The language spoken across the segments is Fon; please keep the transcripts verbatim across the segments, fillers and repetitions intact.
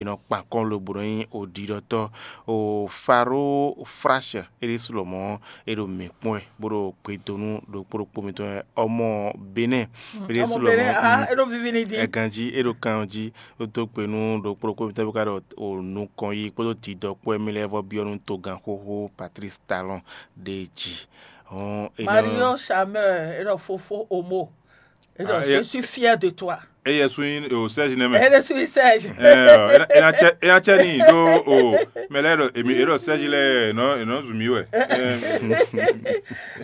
nɔ kpan kɔn lobo nɔ nyí oɖiɖɔtɔ́. O Faro Flash é ɖésú lɔmɔ̌ é ɖo mǐ kpɔ́n wɛ bó ɖo gbe dó nú ɖokpó ɖokpó mitɔn wɛ. Ɔmɔ Benɛ́ é ɖésú lɔmɔ̌ é ɖo vivi ní dín. Ẹganjí é ɖo kan jí. Ó dó gbe nú ɖokpó ɖokpó mitɔn bí ká ɖɔ o nukɔn yí kpódó didɔ kpó wɛ mì lɛ́ɛ vɔ byɔ́ nú togán xóxó Patrice Talon ɖe jí. Hɔn é nɔ Mario Chameur é ɖɔ fofo omo é ɖɔ Ah, je é- suis fier de toi. Eye sú nyí o Serge nɛ́ mɛ. Ele suis Serge. Ena cɛ ena cɛ ni ɖó o mɛ lɛ ɖɔ emi e ɖɔ Serge lɛ enɔ enɔ zu mi wɛ.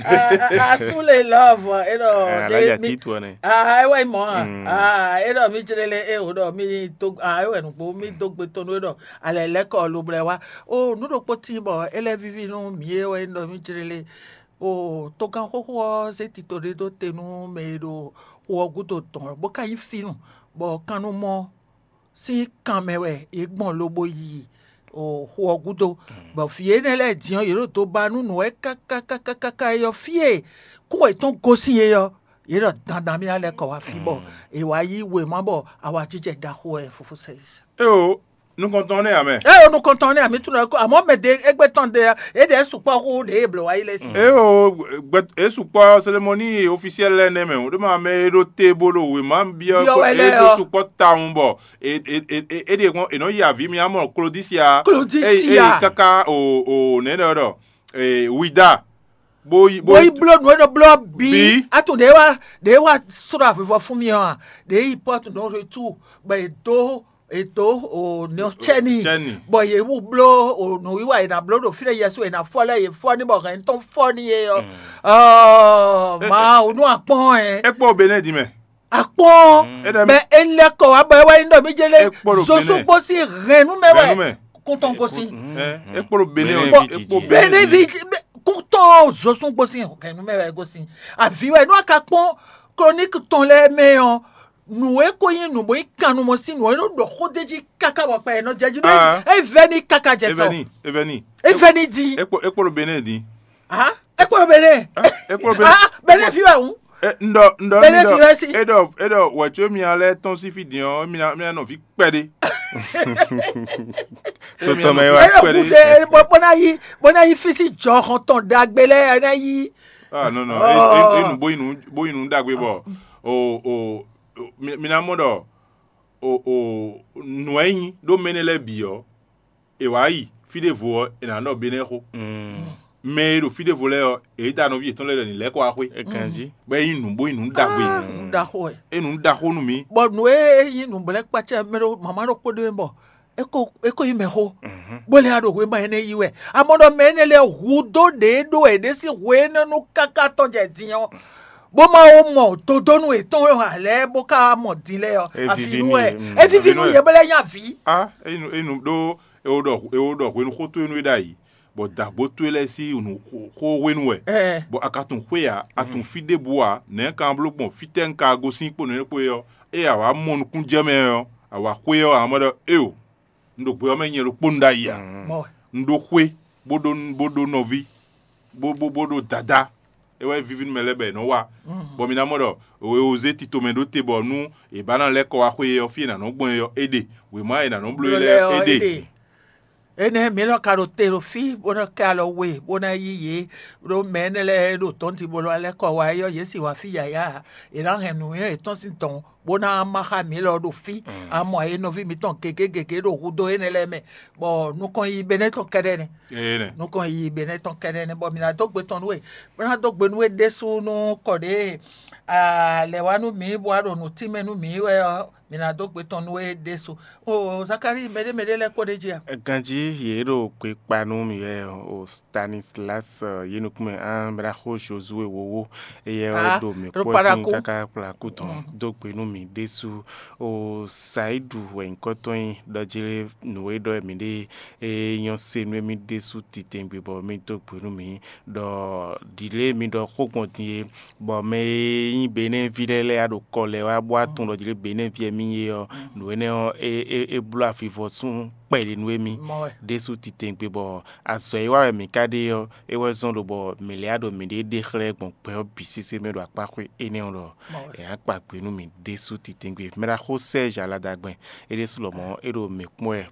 Ah, ah, ah, sous les love é ɖɔ Alájà de- mi- Tito nɛ. Ah, é wɛ mɔ ah. Mm. Ah, é ɖɔ mi jlele é o ɖɔ mi do ah é wɛ nugbo mi do gbe tɔn é ɖɔ alɛ lɛ kɔ lo blɛ wa. O nu ɖokpó tí bɔ é lɛ vivi nú mi é wɛ ɖɔ mi jlele. O togán xóxó ɔ́ zé tito ɖé dó te nú mɛ e ɖo xo ɔ́ gúdo dɔn bó ka nyí fínú, bɔ kannumɔ sín kan mɛ wɛ yě gbɔn lobo yi o xo ɔ́ gúdo, bɔ vǐ énɛ́ lɛ́ɛ din ɔ́, yě ɖo do ba nú nǔ wɛ káká káká káká é ɔ́, fí e kún yětɔn gosín é ɔ́, yě ɖɔ dandan mì ná lɛ́ kɔ wá fí bɔ è wǎ yí wěma bɔ awǎjijɛ ɖaxó wɛ fofó sɛ. Éeǒ, nukɔntɔn nɛ́ ǎ mɛ. Ée o nukɔntɔn nɛ́ ǎ mì tunɔ kó, àmọ́ mɛ ɖě égbé tɔn ɖe ɔ́, yě ɖě sukpɔ́ xú ɖě e blǒ wá yi lɛ́ɛ sin. Éeǒ, gbɛ é sukpɔ́ cérémonie officielle lɛ́ɛ nɛ́ mɛ, ɖé ma mɛ e ɖo te bó ɖo wěma byɔ́ Byɔ́ wɛ é lɛ́ɛ ɖó ɔ́. Sukpɔ́ tawun bɔ é é é é é ɖe kɔn è nɔ yi avǐ mi amɔ Klodisia. Klodisia. Káká o o nɛ̌ ɖɔ ɖɔ wida bó yi bó yi bló nǔ e nɔ bló ɔ́ bǐ. Bǐ. Atu ɖě wá ɖě wá srɔ́ avivɔ fún mi ɔ́ a, ɖě yi pɔ́tu nɔ retu bɔ è dó è dó o nɔ cɛ́ni. Cɛ́ni. Bɔ yě wú bló o nǔwiwa è nǎ bló ɖo fí ɖé yɛsu è nǎ fɔ lɛ́ɛ yě fɔ ní bɔ hɛn tɔn fɔ ní yé ɔ́. Ɔɔ, Mawu nú akpɔn ɛ. É kpó Benin din mɛ. Akpɔn. Bɛ é lɛ́ kɔ wá bɔ é wá nyí ɖɔ mí jɛ lé. Zosú gbósí hɛn nú mɛ wɛ. Kúntɔn gosín. É kpó Benin. Benin vi kúntɔn zosú gbósí hɛn nú mɛ wɛ gosín. Àví wɛ nú a ka kpɔn chronique tɔn lɛ́ɛ mɛ ɔ́, nǔ e ko nyí nǔ bó nyí kannumɔ sín nǔ ɔ́, é nɔ ɖɔ xó d'é jí káká bɔ kpɛ ɛ nɔ jɛ jí ɖó é vɛ́ ní káká jɛ sɔ. É vɛ́ ní. É vɛ́ ní dín. É kpó Benin dín. Ah, é kpó Benin. É kpó Benin. Ah, Benin fi wɛ hǔn. Ndɔ ndɔ Benin fi wɛ sí. É ɖɔ é ɖɔ wɛ̌ có mia lɛ́ɛ tɔ́n sín fí din ɔ́, mia mia nɔ fí kpɛɖé. Totɔ mɛ wá kpɛɖé. Bó ná yí bó ná yí fí sí jɔhɔn tɔn ɖagbe lɛ́ɛ ná yí. Ah non non, é nu bó yi nu bó yi nu ɖagbe bɔ o o mi ná mɔ ɖɔ o o nǔ e nyí ɖó mɛ énɛ́ lɛ́ɛ bǐ ɔ́, è wǎ yi fí ɖěvo ɔ́, è nǎ ɖɔ Benɛ́ xó. Mɛ e ɖo fí ɖěvo lɛ́ɛ ɔ́, è yí da nɔví yětɔn lɛ́ɛ ɖɔ ní lɛ́ kɔ wá xwé. Ganjí. Bɔ é nyí nǔ bó nyí nǔ ɖagbe. Nǔ ɖaxó wɛ. É nǔ ɖaxó nú mì. Bɔ nǔ e é nyí nǔ blɛ́ kpácá mɛ ɖó mama ɖokpó ɖé bɔ é ko é ko nyí mɛxó. Bó lɛ́ wá ɖo hwema énɛ́ yí wɛ. Amɔ ɖɔ mɛ énɛ́ lɛ́ɛ hu dó ɖě ɖó wɛ ɖě sín hwe énɛ́ nú káká tɔn jɛ din ɔ́, bó má wó mɔ dodónú yětɔn e hǎn lɛ́ɛ bó ka wá mɔ din lɛ́ɛ ɔ́, avi nú wɛ. É viví nú yě bó lɛ́ nyí avǐ. A enu enu ɖó ewo ɖɔ ewo ɖɔ hwenu xó towe nú é ɖ'ayǐ, bɔ dǎgbó towe lɛ́ɛ sín nǔ xó hwenu wɛ, bɔ a ka tunwun xwé ǎ, a tunwun fí ɖěbǔ ǎ, nɛ̌ ka bló gbɔn fítɛ́ un ka gosín kpo nǔ énɛ́ kpo é ɔ́, ée a wǎ mɔ nukúnnú jɛ mɛ ɔ́, a wǎ xwé ɔ́, a nǎ mɔ ɖɔ éeǒ, un ɖo gbɛ ɔ́ mɛ nyɛ ɖokpónu ɖ'ayǐ ǎ. Un ɖó xwé bó ɖó bó ɖó nɔví bó bó bó ɖó dadá. É wɛ víví nú mɛ lɛ́ɛ bɔ è nɔ́ wa. Bɔ mi ná mɔ ɖɔ è zé tito mɛ ɖó te bɔ nú è bá ná lɛ́ kɔ wá xwé ɔ́, fí è nǎ nɔ́ gbɔn é ɔ́, é ɖe. Wěma è nǎ nɔ́ bló é lɛ́ɛ ɔ́, é ɖe. Énɛ́ mi lɔ ka ɖo te ɖo fí bó ná kɛ alɔ we bó ná yí yě, ɖó mɛ énɛ́ lɛ́ɛ e ɖo tɔ̌nti bó lɔ lɛ́ kɔ wá é ɔ́, yě sì wá fí yǎyá ǎ. È nǎ hɛn nǔnywɛ́ yětɔn sín dɔ̌n bó ná má xá mǐ lɔ ɖo fí. A mɔ e nɔví mitɔn gěgé gěgé ɖo hudó énɛ́ lɛ́ɛ mɛ, bɔ nukɔn yi Benɛ́ tɔn kɛ́ɖɛ́ nɛ́. Nukɔn yi Benɛ́ tɔn kɛ́ɖɛ́ nɛ́, bɔ mǐ ná dó gbe tɔn nú we, bó ná dó gbe nú we ɖésú nú kɔ ɖě lɛ̌ wá nú mǐ bó wá ɖo nǔ tínmɛ nú mǐ wɛ ɔ́, mǐ ná dó gbe tɔn nú we ɖésú. O Zakalíi, mɛɖé mɛɖé lɛ́ɛ kpó ɖ'é jí a? Ganjí yě ɖo gbe kpa nú mì wɛ o Stanislas yě nukún mɛ an bla xó Josué wowo, éyɛ́ ɔ́ ɖo mǐ kpɔ́ sín káká kplá kú tɔn dó gbe nú mì ɖésú. O Sayidu wɛ nyǐkɔ tɔn nyí ɖɔ jlé nǔ e ɖɔ mǐ ɖe é nyɔ́ se nú émí ɖésú titewungbe bɔ mì dó gbe nú mǐ ɖɔ ɖǐlée mi ɖɔ xó gbɔn din é, bɔ mɛ e nyí Benɛ́ví lɛ́ɛ lɛ́ɛ ɖo kɔ lɛ́ɛ wá bó wá tunwun ɖɔ jlé Benɛ́ví wɛ mì nyí é ɔ́, nǔ énɛ́ ɔ́, é é é bló avivɔsún kpɛɖé nú émí ɖésú titewungbe bɔ azɔ̌ e wa wɛ mǐ ka ɖe ɔ́, é wɛ zɔ́n ɖo bɔ mǐ lɛ́ wá ɖo mǐɖée ɖe xlɛ́ gbɔn gbɛ ɔ́ bǐ sésé mɛ ɖo akpáxwé énɛ́ ɔ́ ɖɔ è nǎ kpa gbe nú mǐ ɖésú titewungbe. Mɛ ɖaxó Sɛ́ɛzi Aladagbɛn é ɖésú lɔmɔ̌ é ɖo mǐ kpɔ́n wɛ